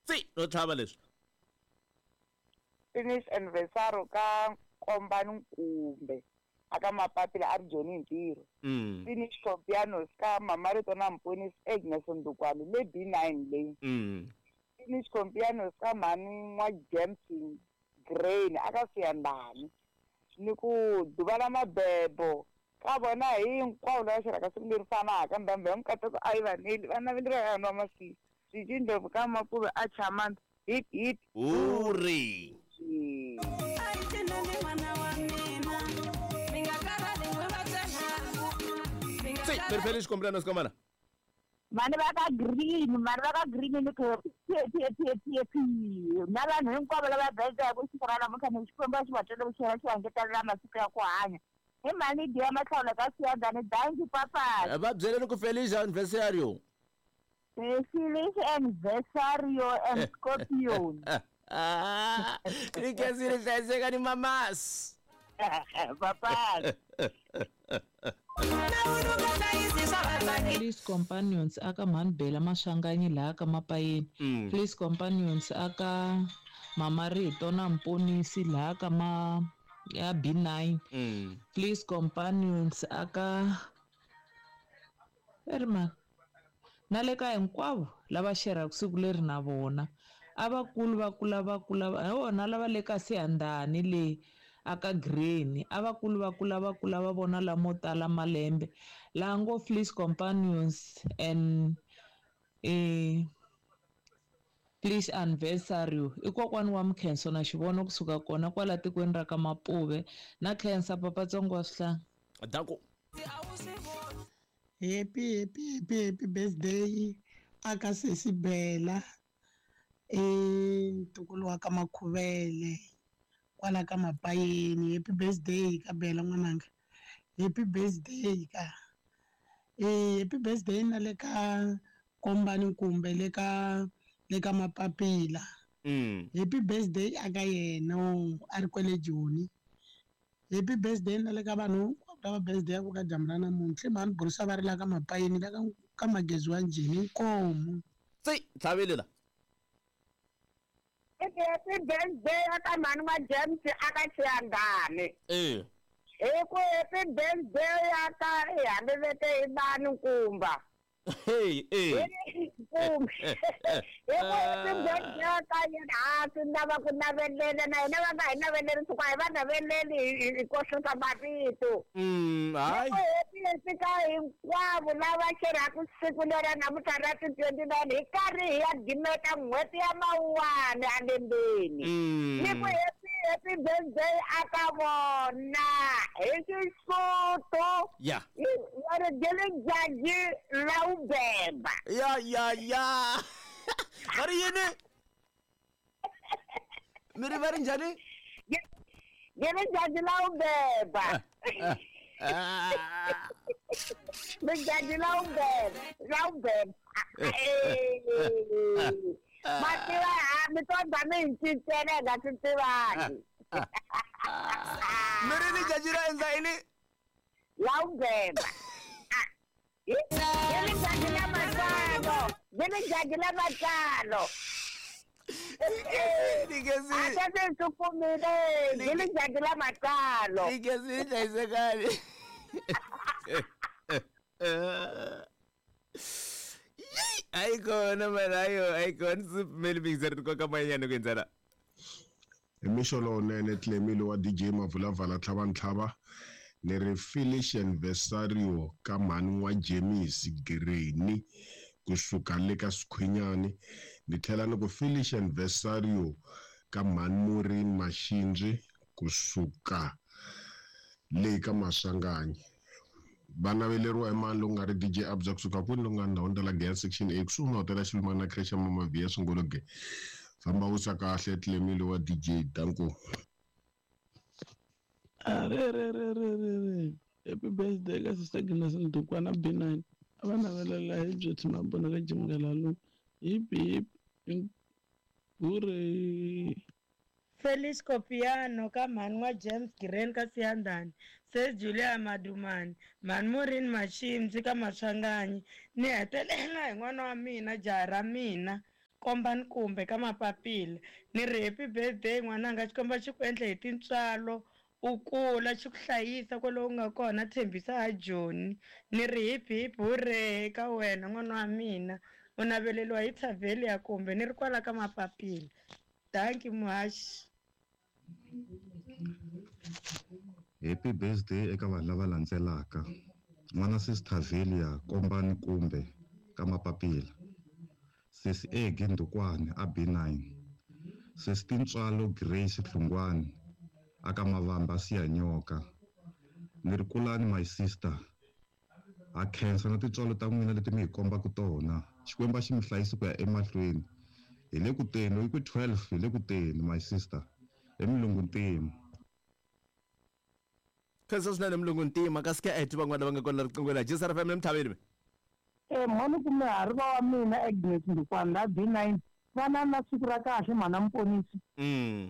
Tsi no tlhava leswi. Finish anniversary ka Nkombani Nkumbe aka Mapapila a ri Joni hi ntirho. Finish Compianos ka Mamarito na Mponisi Agnes Ndukwani le B9 leyi. Finish Compianos ka mhani N'wa James Grain aka Siyandhani. Ni ku duva la mabebo ka vona hinkwavo lava xerhaka siku leri fanaka ndhambi ya mikateko a yi va neli va naveleriwa ka nwa masiku swi ndlopfu ka mapuve a chamanda hip hip Hurray! Tsi, periferi xikombelano sikomana. Mani va ka green, mani va ka green ni ku p p p p p na vanhu hinkwavo lava bedzaka siku ra namuntlha ni Xikwembu a xi va twele vuxela xi va ngetelela masiku ya ku hanya. Hi mhani Diya Mahlawula ka Siyandhani, dankie papas. Va byeleni ku feliz aniversario. Feliz aniversario and Scorpion. Ri khensile hlayiseka ni mamas. Papas. Please companions aka mhani Bela Maswanganyi laha ka Mapayeni. Please companions aka Mama Rito na Mponisi laha ka ma ya B9. Please companions aka eri mani na le ka hinkwavo lava xerhaka siku leri na vona a vakulu va kula va kula hi wona lava le ka Siyandhani le aka Green a vakulu va kula va kula va vona lamo tala malembe laha ngo Fleece Companions and Please anniversary i kokwani wa Mkhenso na xivono kusuka kona kwala tikweni ra ka Mapuve na khensa papatsongo wa swihlanga. Danko. Happy happy happy happy birthday aka sesi Bela i ntukulu wa ka Makhuvele kwala ka Mapayeni. Happy birthday ka Bela n'wananga, happy birthday ka happy birthday na le ka Kombani kumbe le ka le ka Mapapila. Happy birthday aka yena a ri kwele Joni. Happy birthday na le ka vanhu hinkwavo lava birthday ya ku ka dyambu ra namuntlha. I mhani Burisa va ri la ka Mapayeni la ka Magezi wa Njhini inkomu. Tsi tlhavile la. Happy birthday aka mhani wa James aka Xiyandhani. Hi ku happy birthday aka i hambi vete i bani nkumba. Hey, hey. Kumbe. Hi ku happy birthday aka yena ha swi lava ku navelela na hina va nga hi naveleri siku a hi va naveleli hi kohlisa mavito. Hayi. Hi ku happy happy ka hinkwavo lava xerhaka siku lera namuntlha ra ti 29 hi karhi hi ya gimeta n'hweti ya Mawuwani alembeni. Ni ku happy happy birthday aka vona hi Xisotho. Ya. Va ri Gele la u beba. Ya ya ya. Va ri yini? Mi ri va ri njhani? Gele la u beba. Lijaji la u beba, la u beba. Ma tiva ha mi to ba mi cincela hi nga swi tivangi. Mi ri lijaji ra endla yini? La u beba. Lijaji la matsalo, lijaji la matsalo. Ligezi. A ta se swi kumile, lijaji la matsalo. Ligezi hlayisekani. Ayikona mara ayo ayikona sipfumeli mixer nkoka manyana ku endzela. Hi mixo lowunene Clemile wa DJ Mavulavala tlhava ntlhava ni ri Felice anniversario ka mhani wa James Greni kusuka le ka Swikhwinyani. Ni tlhela ni ku Felice anniversario ka mhani Maureen Mashinji kusuka le ka Maswanganyi. Va naveleriwa hi mani lowu nga ri DJ Abza kusuka kwini lowu nga ndhawini ta la Giyani section A kusuhi na hotela Xilumani na creche ya Mama Via Swingologe. Famba wisa kahle Clemile wa DJ Danko. Re re re re re re. Happy birthday ka Sister Agnes Ndukwana B9. A va navelela hi Beauty Mabona ka Jim Ngalalu. Hip hip hooray. Felice Copiano ka mhani wa James Green ka Siyandhani, Sis Julia Madumani, mhani Maureen Mashimzi ka Maswanganyi. Ni hetelela hi n'wana wa mina, jaha ra mina, Kombani kumbe ka Mapapila. Ni ri happy birthday n'wananga, Xikwembu xi ku endle hi tintswalo, u kula, xi ku hlayisa kwale u nga kona. Tshembisa a Joni. Ni ri hip hip hurray ka wena n'wana wa mina. U naveleriwa hi Thavelia kumbe ni ri kwala ka Mapapila. Dankie muhaxi. Happy birthday eka vanhu lava landzelaka. N'wana sis Thavelia Kombani kumbe ka Mapapila. Sis Egi Ndukwane a B9. Sis Tintswalo Grace Hlungwani aka Mavamba Siyanyoka. Ni ri kulani my sister. Ha khensa na tintswalo ta n'wina leti mi hi kombaka tona. Xikwembu a xi mi hlayisi ku ya emahlweni. Hi le ku teni, i ku 12 hi le ku teni my sister. Hi Mulungu Ntima. Khensa swinene Mulungu Ntima, kasi ka eti van'wana lava nga kona riqingweni la Jisara FM emthaveni. Mhani kume ha ri va wa mina Agnes Ndukwana la B9. Vana na siku ra kahle mhana Muponisi.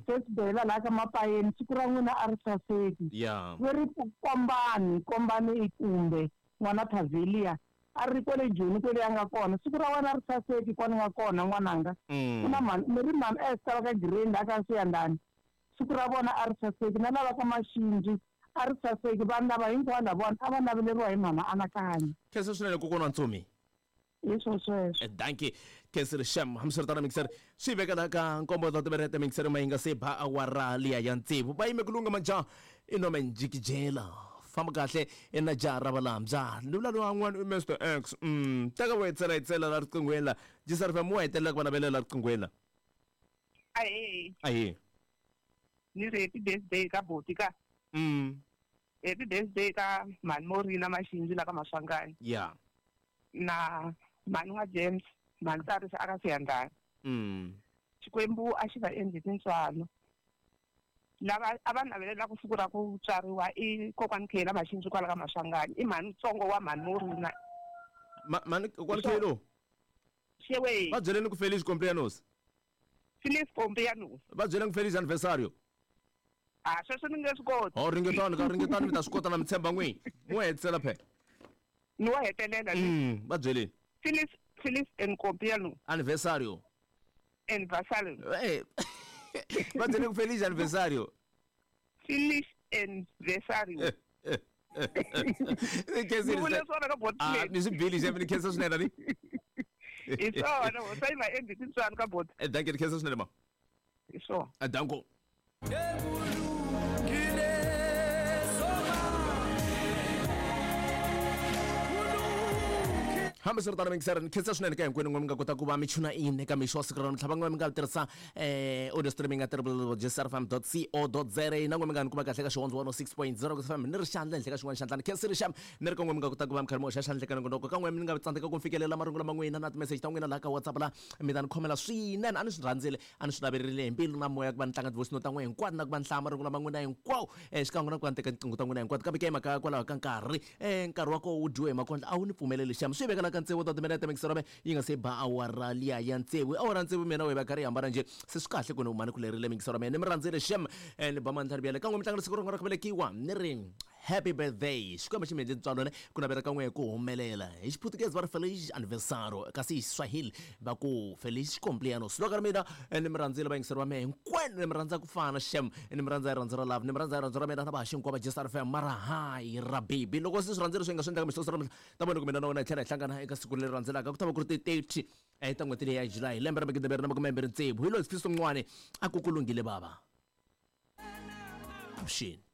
Sesibela la ka Mapayeni, siku ra n'wina a ri saseki. Ve ri kombani, kombani i kumbe n'wana Thavelia a ri kwale Joni kwele a nga kona. Siku ra wena ri saseki kwani nga kona n'wananga. Ku na mhani, mi ri mhani Esther va ka Green la ka Siyandhani. Siku ra vona a ri saseki, na lava ka Maxindzi a ri saseki. Vanhu lava hinkwavo lavawani a va naveleriwa hi mhana Anakanya. Khensa swinene kokwana wa Ntsumi. Hi swo sweswo. Dankie. Khensile xem. Hambiswiritano mixer swi veka la ka nkombo ta timerete mixer ma yi nga se ba awara liya ya tsevu. Va yime ku lungha majaha i nome njikijela. Famba kahle i na jaha ra valambya. Ni vula lowa n'wana i Mr X. Teka wo hetsela hetsela la riqinghweni la. Jisar FM wa hetelela ku va navelela la riqinghweni la. Ahee. Ahee. Ni ri happy birthday ka boti ka. Happy birthday ka mhani Morina Maxindzi la ka Maswanganyi. Na mhani wa James, mhani Tsarisa aka Siyandhani. Xikwembu a xi va endli tintswalo. Lava a va navelelaka siku ra ku tswariwa i kokwani Khela Maxindzi kwala ka Maswanganyi. I mhani ntsongo wa mhani Morina. Mhani kokwani Khelo? Xewe. Va byeleni ku Feliz cumpleaños. Feliz cumpleaños. Va byeleni ku Feliz aniversario. A sweswo ni nge swi koti. Ho ringetani ka ringetani mi ta swi kota na mi tshemba n'wini. N'wi hetisela phela. Ni wa hetelela ni. Va byeleni. Feliz, Feliz en cumpleaños. Aniversario. Aniversario. Va byeleni ku Feliz aniversario. Feliz aniversario. Khensa Ni vule swona ka bot play. Ni swi bili xem ni khensa swinene ni. Hi swona, ho sa yi va endli tintswalo ka bot. Dankie, ni khensa swinene ma. Hi swona. Danko. Hambiswiritano mingiseri ni khensa swinene ka hinkwenu n'we mi nga kota ku va mi chuna in eka mixo wa siku ra namuntlha. Van'we mi nga tirhisa audio streaming ya www.jrfm.co.za na n'we mi nga ni kuma kahle ka Xihondzo 106.0 ku FM ni ri xandla henhla ka xin'wana xandla. Ni khensile xa ni ri ka n'we mi nga kota ku va mi karhi mi hoxa xandla eka nongonoko. Ka n'we mi nga tsandzeka ku fikelela marungulo ma n'wina na timeseji ta n'wina laha ka WhatsApp la mi ta ni khomela swinene. A ni swi rhandzile, a ni swi naverile hi mbilu na moya ku va ni tlanga ti-voice note ta n'wina hinkwato na ku va ni hlaya marungulo ma n'wina hinkwawo xikan'we na ku va ni teka tinqingho ta n'wina hinkwato. Kambe ke hi mhaka kwalaho ka nkarhi nkarhi wa koho wu dyiwe hi makondlo a wu ni pfumeleli xem. Swi vekela ka tsevu ta timinete mixero me yi nga se ba awara liya ya tsevu. Awara tsevu mina wehe va karhi yi hambana njhe. Se swi kahle ku ni mhani ku lerile mixero me ni mi rhandzile xem. Ni ba mandla rivele ka n'we mi tlangela siku rin'wana ra ku velekiwa ni ri happy birthday. Xikwembu xi mi endle ntswalo ne ku navela ka n'we ku humelela. Hi Xiputukezi va ri feliz aniversario, kasi hi Xiswahili va ku feliz cumpleaños. Loko ri mina ni mi rhandzile vayingiseri va mehe hinkwenu, ni mi rhandza ku fana xem, ni mi rhandza hi rirhandzu ra love, ni mi rhandza hi rirhandzu ra mina na vahaxi hinkwavo va Jisar FM. Mara hayi ra baby loko se swi rhandzile swi nga swi endlaka mixo ra ta vona ku mina na wena hi tlhela hi hlangana eka siku leri landzelaka. Ku ta va ku ri ti 30 ta n'hweti leyi ya July lembe ra magidi mbirhi na makume mbirhi tsevu. Hi loyi Sifiso Mncwane a ku ku lunghile bava. Avuxeni.